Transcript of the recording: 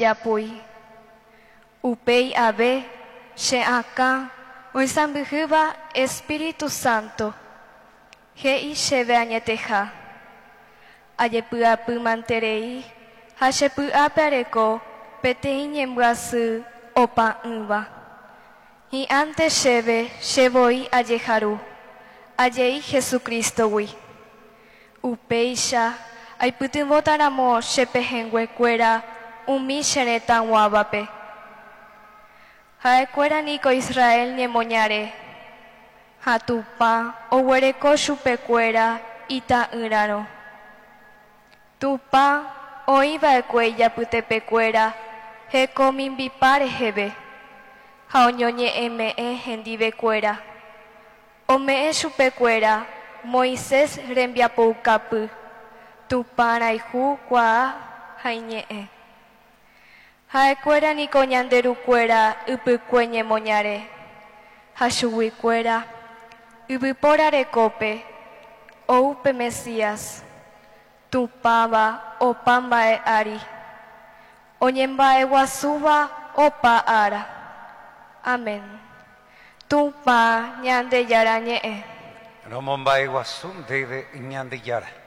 Ndachejapói. Upéi ave, che akã oisãmbyhýva Espíritu Santo, he'i chéve añeteha. Ajepy'apy manterei ha che py'ápe areko peteĩ ñembyasy opa'ỹva. Hi'ãnte chéve che voi ajeharu, ajei Jesucristo-gui. Upéicha aipytyvõtaramo che pehẽnguekuéra umi che retãguávape. Ha'ekuéra niko Israel ñemoñare, ha Tupã oguereko chupekuéra ita'ýrarõ. Tupã oĩ va'ekue ijapytepekuéra heko mimbipa reheve, ha oñoñe'ẽme'ẽ hendivekuéra. Ome'ẽ chupekuéra Moisés rembiapoukapy, Tupã rayhu kuaa ha iñe'ẽ. Ha'ekuéra niko ñande rukuéra ypykue ñemoñare, ha chuguikuéra, yvypóra rekópe, ou pe Mesías, Tupãva opa mba'e ári, oñemba'eguasúva opa ára. Amén. Tupã Ñandejára ñe'ẽ. Romomba'eguasu ndéve Ñandejára.